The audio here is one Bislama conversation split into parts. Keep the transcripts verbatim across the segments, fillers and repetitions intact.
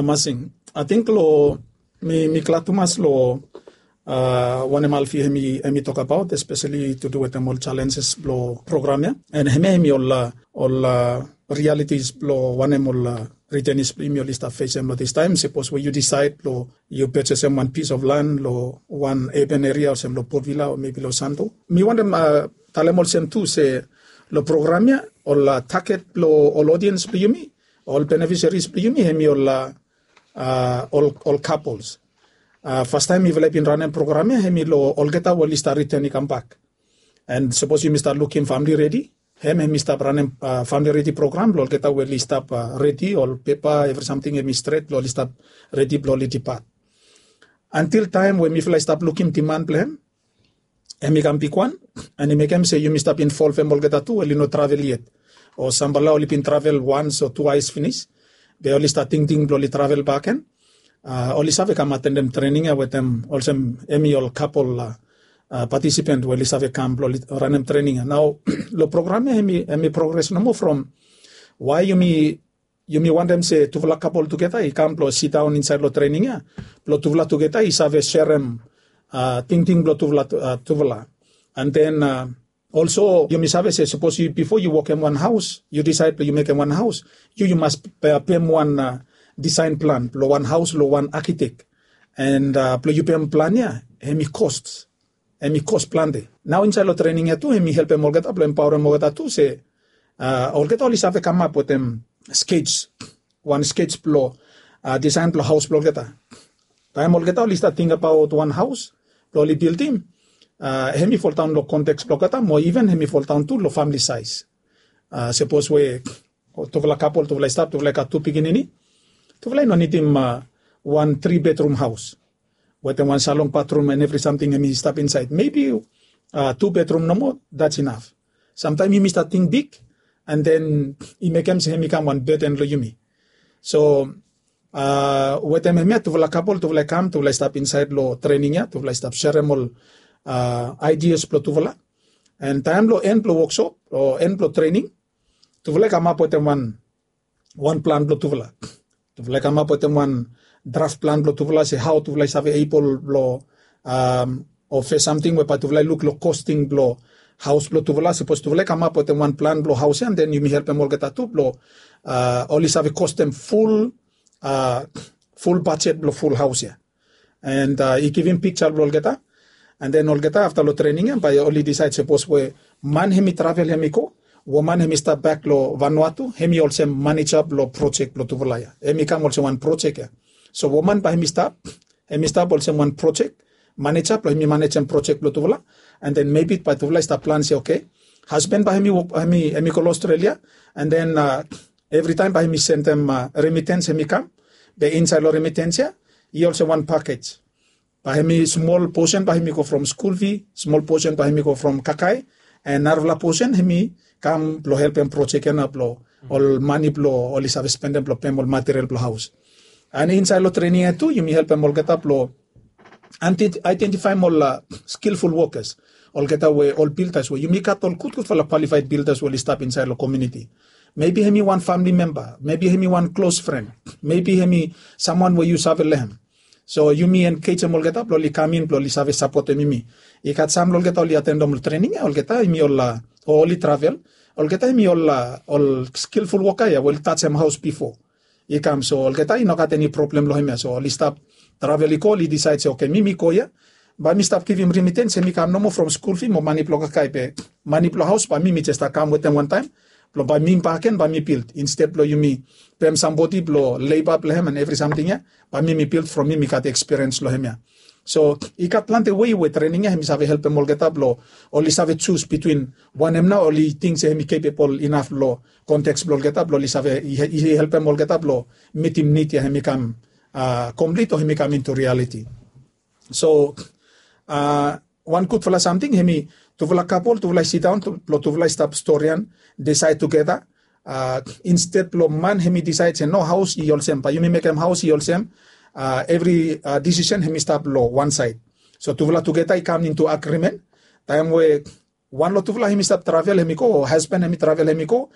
Masing, ating long mi mi glad tumas long wanem Alfi hemi hemi tokabaot, especially to do wetem ol challenges blong program ya. And hemia hemi ol ol realities blong wanem ol retenis blong yumi oli stap fesem long this time. Sapos we yu decide blong yu purchasem wan piece of land long wan urban area olsem long Port Vila o maybe long Santo, mi wantem talem olsem tu se long program ya ol target blong ol audience blong yumi, ol beneficiaries blong yumi hemi ol ol couples. Fastaem mifala i bin ranem program ya hemi long olgeta we oli stap return i kambak. And sapos yumi stap lukim famili redi, hem hemi stap ranem famili redi program blong olgeta we oli stap redi, ol pepa evri samting hemi stret blong oli stap redi blong oli dipat. Antil taem we mifala i stap lukim diman blong hem, hemi kam bigwan, and i mekem se yumi stap involvem olgeta tu we oli no travel yet, o samfala oli bin travel once o twice finis, be oli stap tingting blong oli travel bakegen. Oli save kam atendem trening ya wetem olsem hemi ol couple participant we oli save kam blong oli ranem trening ya. Nao long program ya hemi progres nomo from wae yumi yumi wantem se tufala couple tugeta i kam blong sidaon insaed long trening ya blong tufala tugeta i save serem tingting blong tufala. And then also yumi save se sapos yu bifo yu wokem wan haos, yu disaed blong yu mekem wan haos, yu yu mas pem wan disaen plan blong wan haos long wan akitek. And blong yu pem plan ya, hemi kos hemi kos plante. Nao insaed long trening ya tu hemi helpem olgeta blong empaorem olgeta tu se olgeta oli save kamap wetem skej, wan skej blong disaen blong haos blong olgeta. Taem olgeta oli stap tingbaot wan haos blong oli bildim, hemi foldaon long konteks blong olgeta mo iven hemi foldaon tu long famili saes. Sapos we tufala couple tufala i stap, tufala i gat tu pikinini, tufala i no nidim wan tri bedrum haos wetem wan salon, bathroom and evri samting hemi stap insaed. Maybe two bedrum nomo, that's enough. Samtaem yumi stap ting big, and then i mekem se hemi kam wan burden long yumi. So wetem hemia tufala couple tufala i kam, tufala i stap insaed long trening ya, tufala i stap serem ol ideas blong tufala. And taem long en blong workshop o en blong trening, tufala i kamap wetem wan wan plan blong tufala. Tufala i kamap wetem wan draft plan blong tufala se hao tufala i save able blong o fes samting we bae tufala i luk long kosting blong haos blong tufala. Sapos tufala i kamap wetem wan plan blong haos ya, and then yumi helpem olgeta tu blong oli save kostem ful ful bajet blong ful haos ya. And i givim piksa blong olgeta. And then olgeta afta long trening ya bae oli disaed sapos we man hemi travel hemi go, woman hemi stap bak long Vanuatu, hemi olsem maneja blong projek blong tufala ya. Hemi kam olsem wan projek ya. So woman bae hemi stap hemi stap olsem wan projek maneja blong hemi manejem projek blong tufala. And then maybe bae tufala i stap plan se, okay, hasban bae hemi wok hemi hemi go long Australia. And then evritaem bae hemi sendem remittance hemi kam. Be insaed long remittance ya i olsem wan package. Bae hemi smol posen bae hemi go from skul fee, smol posen bae hemi go from kakae, and narafala posen hemi kam blong helpem projek ya nao blong ol mane blong oli save spendem blong pem ol material blong haos. And insaed long trening ya tu yumi helpem olgeta blong identifaem ol skilful wokas, olgeta we ol bildas we yumi gat ol gudgudfala kwalifaed bildas we oli stap insaed long komuniti. Mebi hemi wan famili memba, mebi hemi wan klos fren, mebi hemi samwan we yu save long hem. So yumi engejem olgeta blong oli kam in blong oli save sapotem yumi. I gat sam long olgeta oli atendem ol trening ya, olgeta hemi ol o oli travel, olgeta hemi ol ol skilful woka ya we oli tajem haos bifo. I kam so olgeta i no gat eni problem long hemia. So oli stap travel i go, oli disaed se, okay, mi mi go ya, bae mi stap givim remittance hemi kam nomo from skul fee mo mane blong kakae, be mane blong haos bae mi mi jes stap kam wetem wantaem blong bae mi bakegen bae mi bild, insted blong yumi pem sambodi blong leba blong hem and evri samting ya, bae mi mi bild from mi mi gat ekspiriens long hemia. So i gat plante wei we trening ya hemi save helpem olgeta blong oli save jus bitwin wanem nao oli ting se hemi kepebol inaf long konteks blong olgeta blong oli save i helpem olgeta blong mitim nid ya hemi kam komplit o hemi kam intu rialiti. So wan gudfala samting hemi tufala kapol tufala i sidaon blong tufala i stap storian, disaed tugeta. Insted blong man hemi disaed se no, haos i olsem, bae yumi mekem haos i olsem, evri disisen hemi stap long wan saed. So tufala tugeta i kam intu agrimen. Taem we wan long tufala hemi stap travel hemi go, o hasban hemi travel hemi go,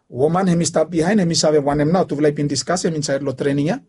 woman hemi stap bihaen hemi save wanem nao tufala i bin diskasem insaed long trening ya.